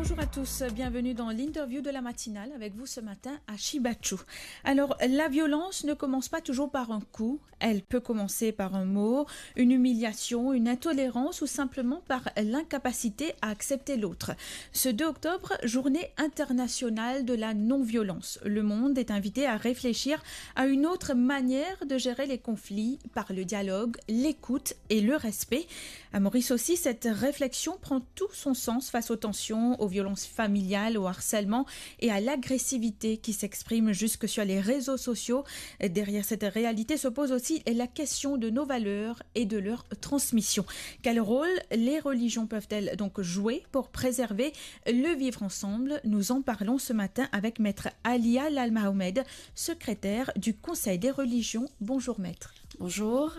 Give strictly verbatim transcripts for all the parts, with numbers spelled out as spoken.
Bonjour à tous, bienvenue dans l'interview de la matinale. Avec vous ce matin, Ashi Bachou. Alors, la violence ne commence pas toujours par un coup, elle peut commencer par un mot, une humiliation, une intolérance ou simplement par l'incapacité à accepter l'autre. Ce deux octobre, journée internationale de la non-violence. Le monde est invité à réfléchir à une autre manière de gérer les conflits par le dialogue, l'écoute et le respect. À Maurice aussi, cette réflexion prend tout son sens face aux tensions, aux violences familiales, au harcèlement et à l'agressivité qui s'exprime jusque sur les réseaux sociaux. Derrière cette réalité se pose aussi la question de nos valeurs et de leur transmission. Quel rôle les religions peuvent-elles donc jouer pour préserver le vivre ensemble ? Nous en parlons ce matin avec Maître Alia Lalmahomed, secrétaire du Conseil des religions. Bonjour, Maître. Bonjour.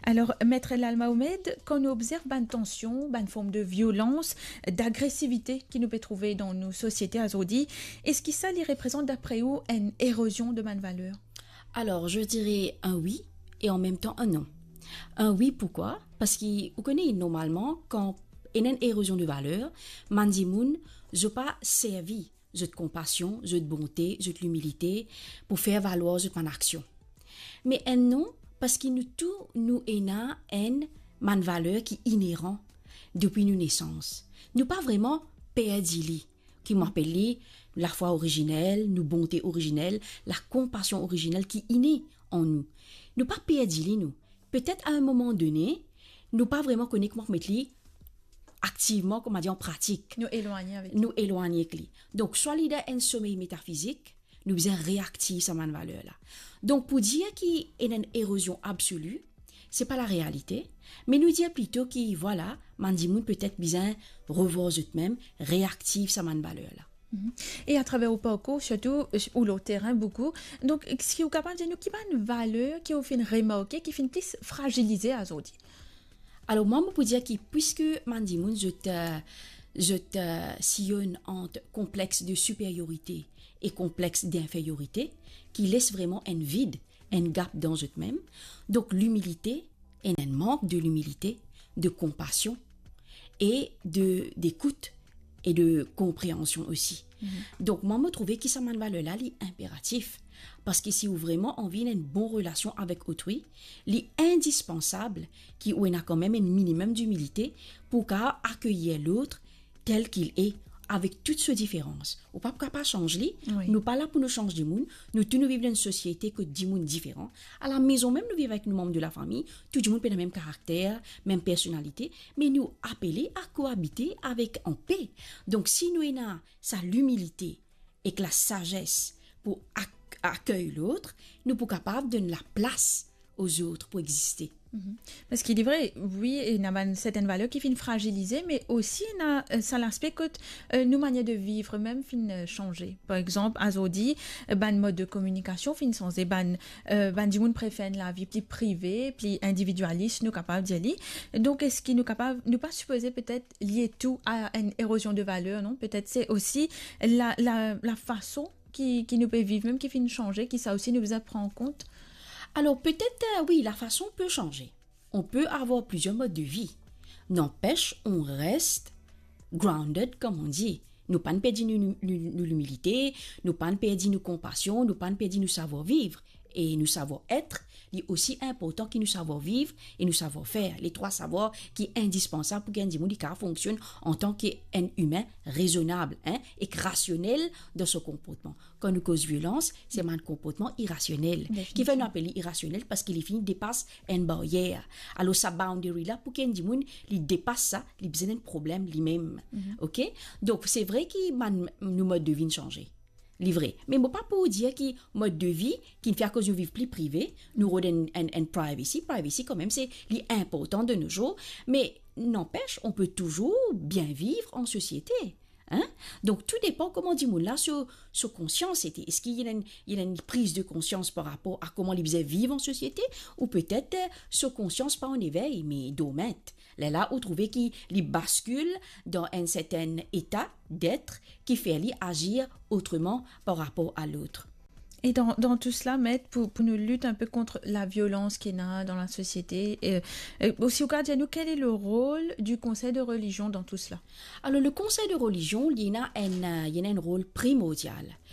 Alors, Maître Lalmahomed, kan nou obzerv bann tansion, bann form de violans, d'agresivite ki nou pe trouve dan nou sosiete azordi, eski sa li reprezant, dapre ou, enn erozion de bann valer? Alors, je dirais un oui et en même temps un non. Un oui, pourquoi? Parski, ou kone, normalman, kan ena enn erozion de valer, bann dimoun, zot pa servi zot konpasion, zot bonte, zot limilite pou fer valwar zot bann aksion. Me enn non, parski nou tou, nou ena enn bann valer ki ineran depi nou nesans. Nou pa vreman perdi li, ki mo apel li lafwa orizinel, nou bonte orizinel, lakonpasion orizinel ki ine an nou. Nou pa perdi li, nou. Petet a enn moman done, nou pa vreman kone kouma met li aktivman, kouma dir, an pratik. Nou elwagne avek li. Nou elwagne avek li. Donk, swa li dan enn somey metafizik, nou bizin reaktiv sa bann valer la. Donk, pou dir ki ena enn erozion absoli, se pa larealite, me nou dir plito ki, vwala, bann dimoun petet bizin revwar zot mem, reaktiv sa bann valer la. Mhm. E atraver ou parkour, sirtou, euh, ou lor terin boukou. Donk, eski ou kapav dir nou ki bann valer ki ou finn remarke ki finn plis frazilize azordi? Alor, mwa, mo pou dir ki, piski bann dimoun, zot, euh, zot, euh, sillonn ant konplex de superiorite e konplex d'inferiorite, ki les vreman enn vid, enn gap dan zot mem. Donk, limilite, ena enn mank de limilite, de konpasion e de, dekout e de konpreansion osi. Mhm. Donk, mwa, mo trouve ki sa bann valer la, li inperatif. Parski si ou vreman anvi enn bon relasion avek otrui, li indispansab ki ou ena kanmem enn minimem dimilite pou kapav akeyir lot tel ki li e, avek tout so diferans. Ou pa pou kapav sanz li. Wi. Nou pa la pou nou sanz dimoun. Nou tou nou viv dan enn sosiete kot dimoun diferan. A lamezon mem, nou viv avek nou manm de lafami, tou dimoun pena mem karakter, mem personalite, me nou apele a koabite avek anpe. Donk, si nou ena sa limilite ek lasazes pou ak-, akey lot, nou pou kapav donn laplas ozot pou existe. Mhm. Parski li vre, wi, ena bann sertenn valer ki finn frazilize, me osi ena, euh, sa laspe kot, euh, nou manier de viv mem finn, euh, sanze. Par exanp, azordi, euh, bann mod de kominikasion finn sanze, bann, euh, bann dimoun prefer enn lavi pli prive, pli individialis, nou kapav dir li. Donk, eski nou kapav, nou pa sipoze petet lie tou a enn erozion de valer, non? Petet se osi la, la, lafason ki, ki nou pe viv mem ki finn sanze, ki sa osi nou bizin pran kont. Alors, peut-être, euh, oui, la façon peut changer. On peut avoir plusieurs modes de vie. N'empêche, on reste grounded, comme on dit. Nou pa'nn perdi nou, nou, nou, nou limilite, nou pa'nn perdi nou konpasion, nou pa'nn perdi nou savwar viv e nou savwar et. Li osi inportan ki nou savwar viv e nou savwar fer. Les trois savoirs ki indispansab pou ki enn dimoun li kapav fonksionn antan ki enn imin rezonab, hein, ek rasionel dan so konportman. Kan nou koz violans, se bann konportman irasionel. Definitivman. Kifer nou apel li irasionel? Parski li fini depas enn baryer. Alor, sa boundary la, pou ki enn dimoun li depas sa, li bizin enn problem limem. Mhm. Ok? Donk, se vre ki bann, nou mod de vi inn sanze. Li vre. Me mo pa pou dir ki mod de vi ki finn fer akoz nou viv pli prive, nou rod enn, enn, enn privacy. Privacy, kanmem, se li inportan de nos jours. Mais n'empêche, on peut toujours bien vivre en société. Hein? Donk, tou depan kouma dimoun la so, so konsians ete. Eski li ena enn, li ena enn priz de konsians par rapor a kouma li bizin viv an sosiete, ou petet, euh, so konsians pa an evey, me dormant. Lerla ou trouve ki li baskil dan enn sertenn eta d'être ki fer li azir otreman par rapor a lot. Et dans, dans tout cela, Maître, pour, pour nous lutter un peu contre la violence qu'il y a dans la société, euh, euh, aussi, ou ka dir nou, quel est le rôle du Conseil de religion dans tout cela? Alors, le Conseil de religion, li ena enn, euh, li ena enn rol primordial.